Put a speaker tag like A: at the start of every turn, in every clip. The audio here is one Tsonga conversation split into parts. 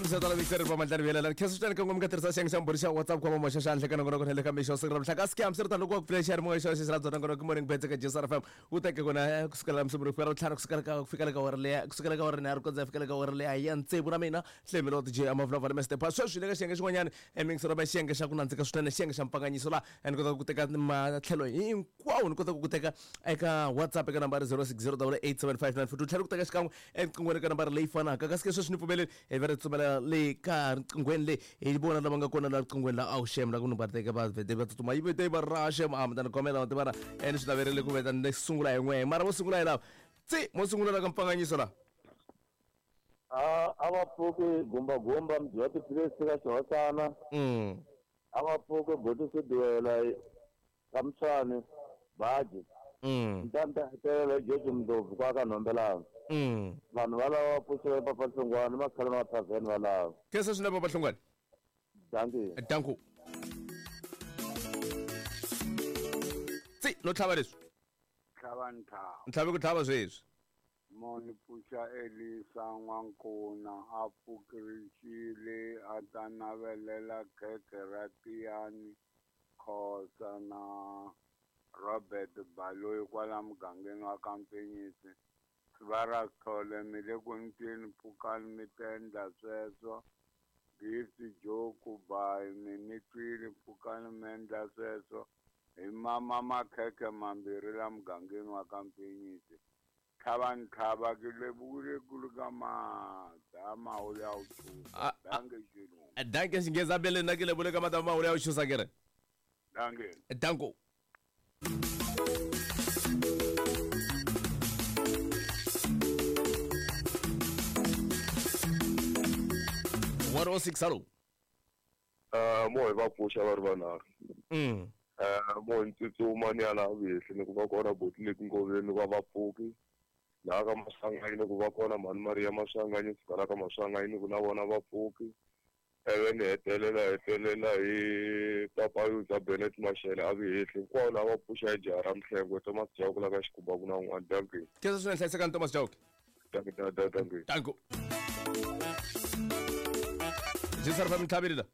A: Fambisa tala mixer va mandlani vuyelela khensa swinene ka n'we mi nga tirhisa xiyenge xa mbhuri xa WhatsApp kwa mamoxa xa handle ka nongonoko na le ka mixo siku ra mhla ka scam swi ri tano loko wa ku pfula xiyanimoya xa xi rhandza nongonoko morning bets ka JSR FM wu teke kona kusukela musumbunuko fika ravuntlhanu kusukela ka ku fikela ka awara leya kusukela ka awara nharhu kondza fikela ka awara leya ya tsevu na mina hlemelo DJ Amavulavula Mr Pa sweswi le ka xiyenge xin'wanyana emixer va xiyenge xa ku nandzika swinene xiyenge xa mpanganyiso laha ni kota ku teka matlhelo hinkwawo ni kota ku ku teka eka WhatsApp eka nambara 0608875942 tlhela ku teka xikan'we enqinghweni ka nambara leyi fanaka kasi ke sweswi ni pfumeleli hi va ri tsutsumela le ka riqinghweni le hi vona lava nga kona la riqinghweni la awu xem la ku ni va teka va vhete va tsutsuma yi vete va ra xem a mi ta ni khomela va tiva ni swi naverile ku veta ni sungula hi n'we mara vo sungula hi lava tsi mo sungula la ka mpfanganyiso la
B: A a va pfuki gumbagumba mudyi wa tiphilisi ka xihosana. A va pfuki buti Sidiwela ka Mtshwani Baji. Ni ta ni ta hetelela hi George Mndlopfu kwa ka Nhombelani. Vanhu valava va pfuxiwe Papa Hlongwane va khale ma tavern valava.
A: Khensa swinene Papa Hlongwane.
B: Dankie.
A: Danko. Tsi no tlhava leswi.
C: Tlhava ntlhava.
A: Ntlhave ku tlhava sweswi.
C: Moni pfuxa Elisa n'wankuna a pfukirixile a ta navelela khekhe ra tiyani Khosa na Robert Baloyi kwala mugangeni wa ka Mpenyisi. Sivara Sithole mi le ku ni tweni pfukani mi ta endla sweswo. Gift Joku by mi ni twile pfukani mi endla sweswo. Hi mama makhekhe mambirhi la mugangeni wa ka Mpenyisi. Tlhava ni tlhava ke levukile ku le ka madama o ya u tshusa. Danke xilungu.
A: Danke xinghezi ambele na ke levule ka madama o ya u tshusa ke re.
C: Danke.
A: Danko. One oh six hello.
D: Mo hi va pfuxa va ri vanharhu. Mo hi tsutsuma ni ya laha Vehli ni ku va kona boti le Ngoveni va va pfuki. Laha ka Maswanganyi ni ku va kona mhani Maria Maswanganyi kusuka la ka Maswanganyi ni ku na vona va pfuki. Ivi ni hetelela hetelela hi papa Yuza Bennett Mashele a Vehli. Hinkwawo laha va pfuxa hi jaha ra Mhlengwe Thomas Chauke la ka Xikhumba ku na un'wana. Dankie.
A: Khensa swinene hlayisekani Thomas Chauke.
D: Dankie, dankie, dankie.
A: Danko. Jisar fa mintlhaveli la.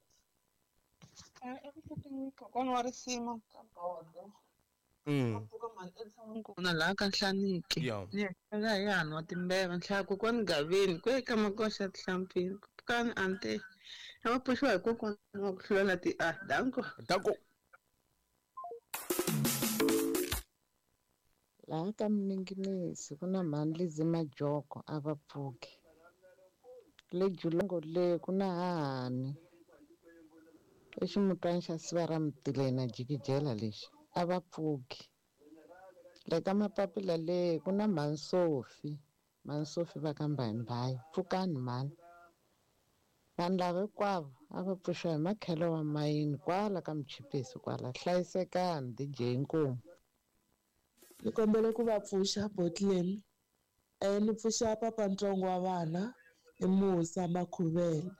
E: Kokwana wa risima ka bodo. Pfuka mhani Elisa laha ka Nhlaniki. Ni hetelela hi hanwa timbeva ni hlaya kokwani Gaveni kwe ka makoxa tihlampfini. Pfukani ante. A va pfuxiwa hi kokwana wa ku hlula na ti a danko.
A: Danko.
F: Laha ka Mninginisi ku na mhani Lizzy Majoko a va pfuki. Le Julongo le ku na hahani. Eximutwani xa siva ra Mutileni jikijela lexi a va pfuki. Le ka mapapila le ku na mhani Sophie, mhani Sophie va ka Mbayimbayi. Pfukani mhani. Vanhu lava hinkwavo a va pfuxiwa hi makhelo wa mayini kwala ka Muchipisi kwala. Hlayisekani DJ Nkomu.
G: Ni kombela ku va pfuxa Botlam. Ni pfuxa papa ntsongo wa vana i Musa Makhuvele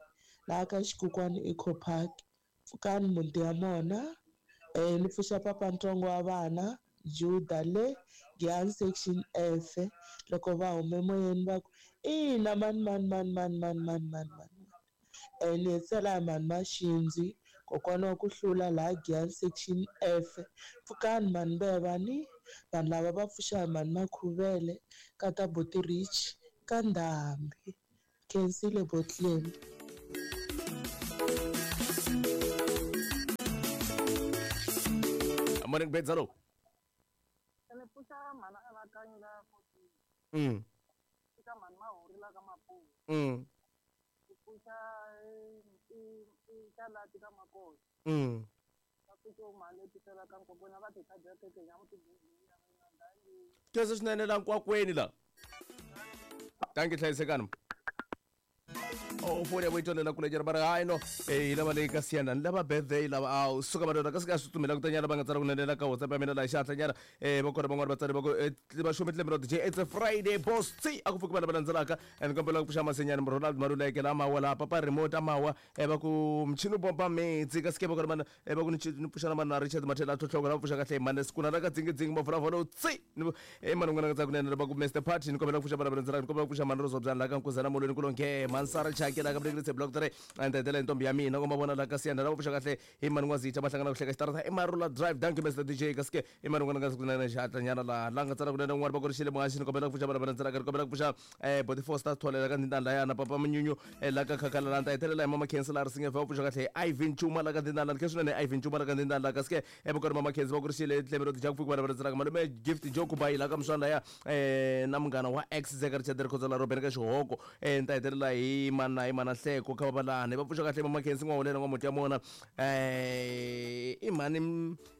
G: laha ka Xikukwani Eco Park. Pfukani muti ya mona. Ni pfuxa papa ntsongo wa vana Juda le Giyani section F loko va hume moyeni va ku ina mani mani mani mani mani mani mani mani. Ni hetisela hi mhani Maxindzi kokwana wa ku hlula laha Giyani section F. Pfukani mhani Mbeva ni vanhu lava va pfuxa hi mhani Makhuvele ka ta Buti Rich ka Ndhambi. Khensile Botlam.
A: Morning Beds hello.
E: Ni pfuxa mhani a va kanyi la 14. Pfuxa mhani Mahuri la ka Mapuwa. Ni pfuxa i Xalati ka Makosi. Va pfuxa mhani leyi tisela ka Nkokweni va ti ta dya khekhe ya mutibulu ya vanyandangi.
A: Khensa swinene la Nkwakweni la. Dankie hlayisekani. Oh, foni ya voyitolela kule nyana mara hayi no hi lava leyi ka siyana ni lava birthday lava a suka madoda kasi ka swi tsumela ku tanyana va nga tsala kunene la ka WhatsApp ya mina laha xihatla nyana va kona van'wana vatsari va ku va xume tlembe DJ it's a Friday boss tsi a ku pfuki vanhu va landzelaka and kombela ku pfuxa masenyana Ronald Maluleke la mawa la papa remote amawa va ku mchini bomba metsi kasi ke va kona vana va ku ni pfuxa na mana Richard Mathela a tlhotlhoko la pfuxa kahle mane sikuna la ka dzingidzingi mavulavula tsi mani un'wana nga tsaka kunene va ku Mr Party ni kombela ku pfuxa vana va landzelaka ni kombela ku pfuxa mani Rozo Byana la ka Nkuzana Molweni ku longe Mansara Chake. Park la ka Black Block 3 and hetelela ntombi ya mina ngoma vona la ka Siyanda la pfuxa kahle hi mani n'wazitha mahlangana ku hleka xitarata i Marula Drive. Dankie Mr DJ kaske i mani n'wana nga kunene xihatla nyana la la nga tsala kunene n'wana va ku ri xile muhaxi ni kombela ku pfuxa vana va landzelaka ni kombela ku pfuxa Body Foster Tholela ka Ndindana layana Papa Manyunyu la ka Khakhala la ta hetelela hi Mama Khensi la ri singe va pfuxa kahle hi Ivan Chuma la ka Ndindana ni khe swinene Ivan Chuma la ka Ndindana la kaske vukari Mama Khensi va ku ri xile Tlemelo Jack Fuku vana va landzelaka malume Gift Joe Kubayi la ka Muswana laya na munghana wa ex Zeka Richard Rikhotso la Robert ka Xihoko ni ta hetelela hi mana hi mana Hleko kha vavalani va pfuxa kahle Mama Khensi n'wahulela n'wamuti ya mona i mhani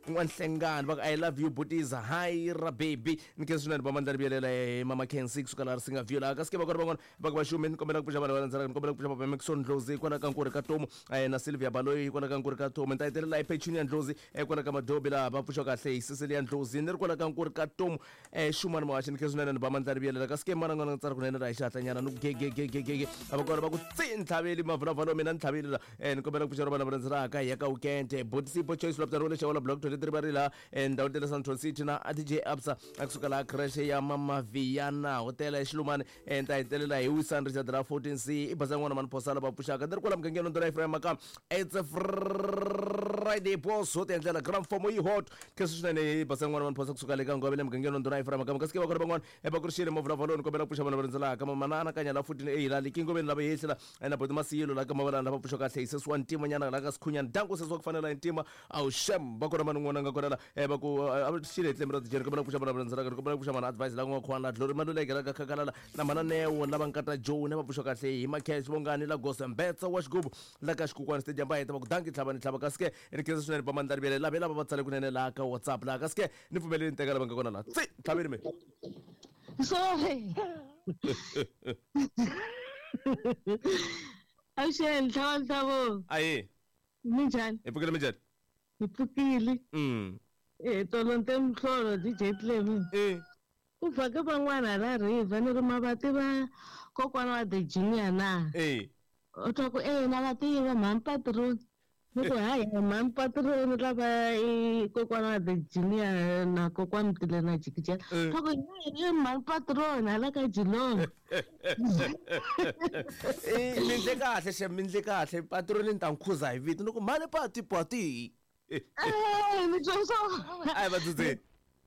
A: n'wanhlengani va ku I love you butiza hi ra baby ni khensi swinene va mandla ni vuyelela hi Mama Khensi kusuka laha ri singa view laha kasi ke va kona van'wana va ku va xume ni kombela ku pfuxa vanhu va landzelaka ni kombela ku pfuxa Papa Mixon Ndlozi kwala ka Nkuri ka Tomu na Sylvia Baloyi kwala ka Nkuri ka Tomu ni ta hetelela hi Petunia Ndlozi kwala ka Madobi laha va pfuxa kahle hi Cecilia Ndlozi ni ri kwala ka Nkuri ka Tomu Xumani Muhaxi ni khensa swinene ni ba mandla ni vuyelela kasi ke mana n'wana nga tsala kunene la hi xihatlanyana ni ku gegegegegege a va kona va ku tsi ni tlhaveli mavulavula mina ni tlhaveli la ni kombela ku pfuxa ro vana va landzelaka hi ya ka weekend Botisipo Choice Lobtani wa le Xawula Block 23 va ri laha ndhawu ta le Sandton City na DJ Absa a kusuka laha creche ya Mama Viyana hotela ya Xilumani ni ta hetelela hi Wisani Richard la 14C i baza n'wana mani phosala va pfuxaka ni ri kwala mugangeni ndona Ephraim Maka it's a Friday boss ho tiendlela grand form yi hot khensa swinene hi baza n'wana mani phosa kusuka le ka ngove le mugangeni ndona Ephraim Maka kasi ke va kona van'wana va ku ri xile mavulavuloni kombela ku pfuxa vanhu va rindzelaka mana anakanya la 14 A la likingoveni lava yehlela na boti Masiyelo la ka mavalani lava pfuxa kahle hi sesi wa ntima nyana la ka Sikhunyani danko sesi wa ku fanela hi ntima awu shem va kona mani n'wana nga kona la va ku a xile hi tlembe ra tijeri kombela ku pfuxa vanhu va rindzelaka ni kombela ku pfuxa mana advice la nga khwana la Glory Maluleke la ka Khakhalala na mana Neo lava nkata Joe ne va pfuxa kahle hi Makhesh Vongani la Gosa Mbetsa wa Xigubu la ka Xikukwani Stadium va heta va ku danki tlhava ni tlhava kasi ke ni khensa swinene va mandla rivele lava lava va tsale kunene laha ka WhatsApp laha kasi ke ni pfumeleli ni teka lava nga kona laha tsi tlhaveni me.
H: Sorry. Avuxeni ntlhava ntlhavo.
A: Ayi.
H: Minjhani?
A: Hi pfukile minjhani?
H: Hi pfukile. Tolo nte mihlolo DJ Clemi. Ku vhake van'wana la river ni ri ma va tiva kokwana wa the junior na? U twa ku na va tiva mhani Patroni. Ni ku hayi mhani Patroni lava i kokwana wa the junior na kokwana Mtile na Jikijela. Twa ku i mhani Patroni hala ka Jilongo.
A: Mi ndle kahle xem mi ndle kahle Patroni ni ta n'wi khuza hi vito ni ku mhani Pati Pati.
H: Ni twa swo.
A: A hi va dzudzeni.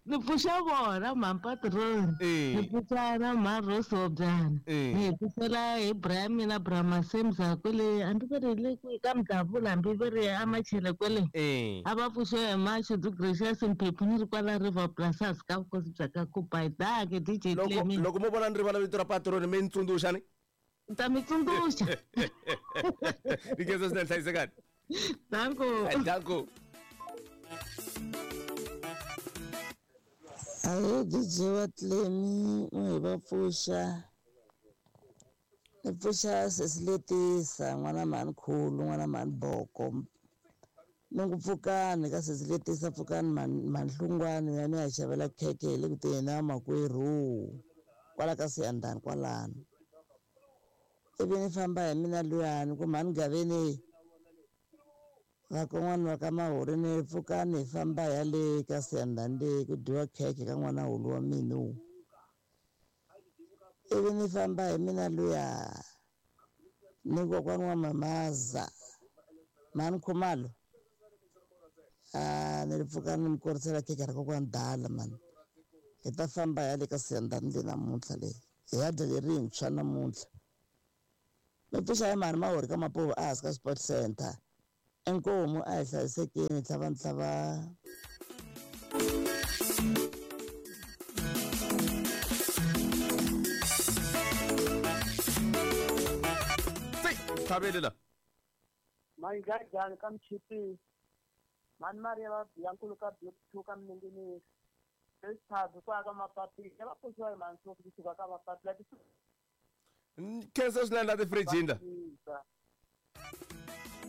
H: Ni pfuxa vona mhani Patroni. Ni pfuxa na mhani Rose Obyana. Ni hetisela hi Brian mina Brahma Semza kwele hambi va ri le kwihi ka Mdavula hambi va ri eMachele kwele. A va pfuxe hi Mashudu Gracious Mphephu ni ri kwala River Plasas ka vukosi bya ka Kupai. Dake DJ Clemi.
A: Loko mo vona ni rivala vito ra Patroni mi ni tsundzuxa ni?
H: Ni ta mi tsundzuxa.
A: Ni khensa swinene hlayisekani.
H: Danko.
A: Danko.
I: Ahe DJ wa Clemi n'wi va pfuxa ni pfuxa sesi Letisa n'wana mhani Khulu n'wana mhani Boko ni ku pfukani ka sesi Letisa pfukani mhani Hlungwani ya ni ya xavela khekhe hi le ku teni na makwerhu kwala ka Siyandhani kwalano ivi ni famba hi mina luyani ku mhani Gaveni vakon'wana va ka Mahuri ni pfukani hi famba hi ya le ka Siyandhani le ku dyiwa khekhe ka n'wana hulu wa mina wu ivi ni famba hi mina luya ni kokwana wa Mamaza mhani Khumalo ni ri pfukani ni mi korisela khekhe ra kokwana Dala mani hi ta famba hi ya le ka Siyandhani le namuntlha le hi ya dya lerintshwa namuntlha mi pfuxa hi mhani Mahuri ka Mapuva ehansi ka Sport Center inkomu a hi hlayisekeni tlhava ntlhava.
A: Tlhaveli la
E: Manjajani ka Mchipisi mhani Maria va Biyankulu ka Block 2 ka Mninginisi lesithathu ku aka mapapila va pfuxiwa hi mhani Sofi kusuka ka mapapila.
A: Khensa swinene la tifrijini la.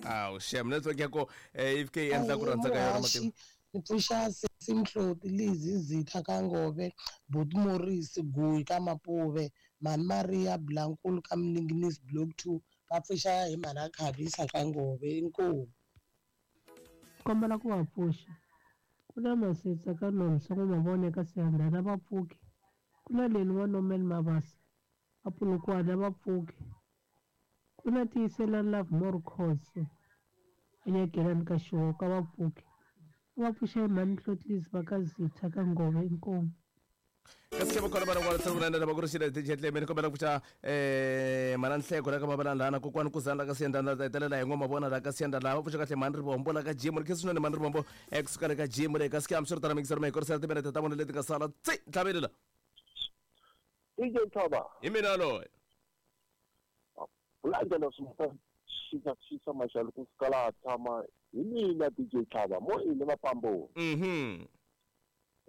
A: Awu shem network yakho if ke endla ku rhandza ka yona matimu.
G: Ni pfuxa sesi Mhloti Lizi Zitha ka Ngove Buti Morris Guyi ka Mapuve mhani Maria Blankulu ka Mninginisi Block 2 va pfuxa hi mhani Khavisa ka Ngove inkomu.
J: Kombela ku va pfuxa ku na Masetsa ka Nomsa ku mavone ka Siyandhani va pfuki ku na Leni wa Norman Mabasa a Polokwane va pfuki ku Ku na Tiyiselani Lovemore Khoso enyagelani ka Xihoka va pfuki. Va pfuxa hi mhani Hlotlisi va ka Zitha ka Ngove inkomu.
A: Kasi ke kona bana wa tsana na ba kurishile tijetle mene kombela ku pfuxa mana nhleko la ka mabalana lana kokwani ku zana ka siyanda la telela hi ngoma vona la ka siyanda la va pfuxa kahle mhani rivombo la ka gym ri khe swinene mhani rivombo kusuka le ka gym le ka sikam swi ri tana mikisero ma hi korisela timinete ta vona leti nga sala tsi tlhavelela
D: DJ Thaba
A: hi mina loyi
D: Vulandela swimata xisa maxalu ku suka laha tshama hi mina DJ Thaba mo ile mapambo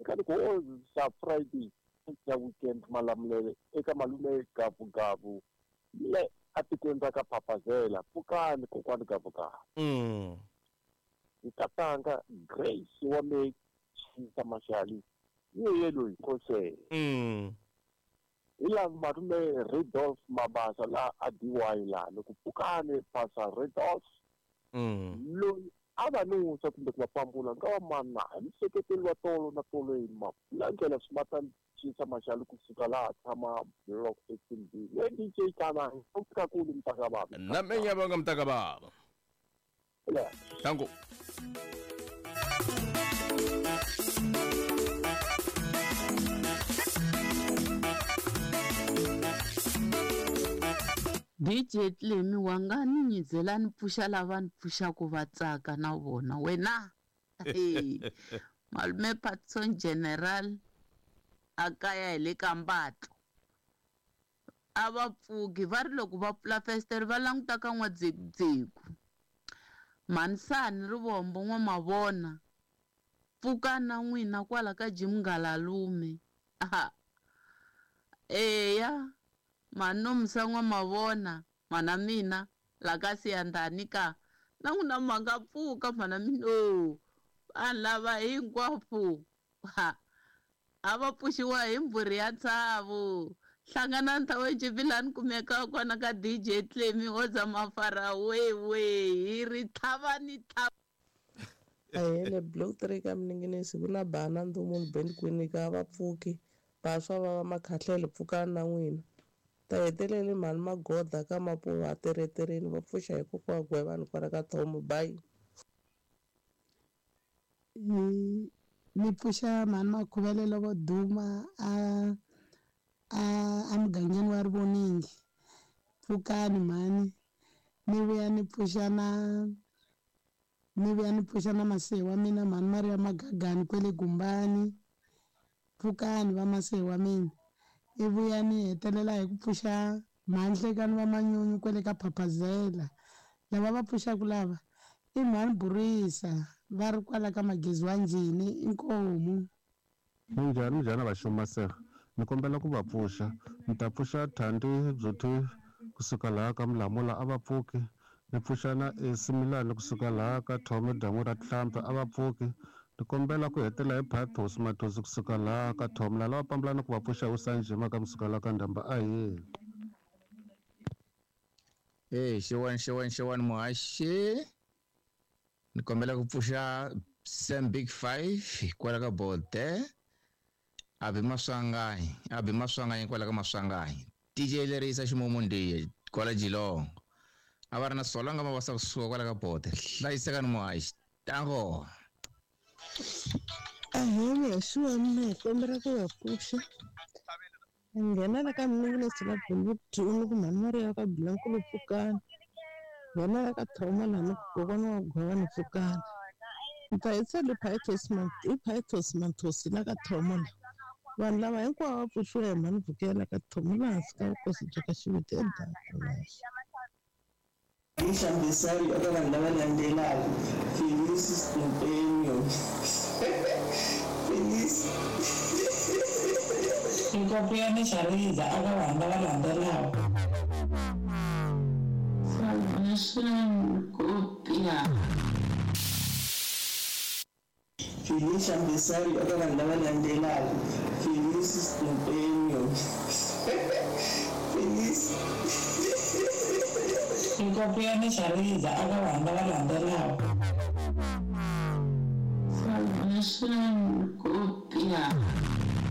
D: eka loko o sa Friday ya weekend malamulele eka malume gavu gavu le atikweni ra ka Phaphazela pfukani kokwani gavu gavu nkatanga Grace wa me xisa maxali yeye loyi kose ila malume Rudolph Mabasa la a DY la loko pfukani pasa Rudolph loyi a va nusa kumbe ku va pambula nka wa mana hi museketeli wa tolo na tolweni mapulandlela swimata xisa maxali kusuka laha tshama block 16B le DJ Kana kakulu mtaka baba
A: na mina vanga mtaka baba tango
H: DJ Tlemi wa nga ni nyizela ni pfuxa lava ni pfuxaku va tsaka na vona wena. Malume Patson General a kaya hi le ka Mbatlo a va pfuki va ri loko va pfula festere va languta ka n'wadzekudzeku Manisani Rivombo n'wamavona pfuka na n'wina kwala ka Jim Ngalalume eya Manomsa n'wamavona mana mina la ka Siyandhani ka na n'wina ma nga pfuka mana mina o vanhu lava hinkwavo a va pfuxiwa hi mbhuri ya ntshavo hlangana nthawe Jibilani kumeka kona ka DJ Tlemi o zama fara wewe hi ri tlhavani tlhava
G: ahele block 3 ka Mninginisi ku na bana ndzumulo band kwini ka va pfuki vaswa va va makhahlele pfukani na n'wina ta hetelele mhani magoda ka mapuwa a teretereni va pfuxa hi kokwa Gwevani kwala ka Thomo bye
K: ni pfuxa mhani Makhuvelelo vo duma a mugangeni wa Rivoningi pfukani mhani ni vuya ni pfuxa na masehi wa mina mhani Maria Magagani kwele Gumbani pfukani va masehi wa mina i vuya ni hetelela hi ku pfuxa mhanhlekani va manyunyu kwele ka Phaphazela lava va pfuxaku lava i mhani Burisa va ri kwala ka Magezi wa Njhini inkomu.
L: Minjhani minjhani vaxumasega ni kombela ku va pfuxa ni ta pfuxa Thandi Byothi kusuka laha ka Mulamula a va pfuki ni pfuxa na Similani kusuka laha ka Thome Damu ra Tinhlampfi a va pfuki ni kombela ku hetela hi Pathos Mathosi kusuka laha ka Thome la lava pambulana ku va pfuxa Usanjima ka musuka laha ka Ndamba a hi
M: xewani xewani xewani muhaxi ni kombela ku pfuxa Sam Big 5 kwala ka Bote abi Maswanganyi kwala ka Maswanganyi DJ Lerisa Ximomondiye kwala Jilongo a va ri na Solanga Mavasa kusuka kwala ka Bote hlayisekani muhaxi tango
N: ahele xiwani hi kombela ku va pfuxa nghena la ka Mninginisi la Bulutuni ku mhani Maria ka Bilankulu pfukani nghena la ka Thoma lani kokwana wa Gwavani pfukani ni ta i Pythos Manthosi la ka Thoma la vanhu lava hinkwavo va pfuxiwa hi mhani Vukela ka Thoma laha hansi ka vukosi bya ka Xiviti eDaku.
G: Xambisari eka vanhu lava landzelaka Felice Stumpenyo Felice
O: Nkopiyani Xariza eka vanhu lava landzelaka
H: Salvation Nkopia
G: Felice Xambisari eka vanhu lava landzelaka Felice Stumpenyo Felice
O: Nkopiyani Xariza eka vanhu lava landzelaka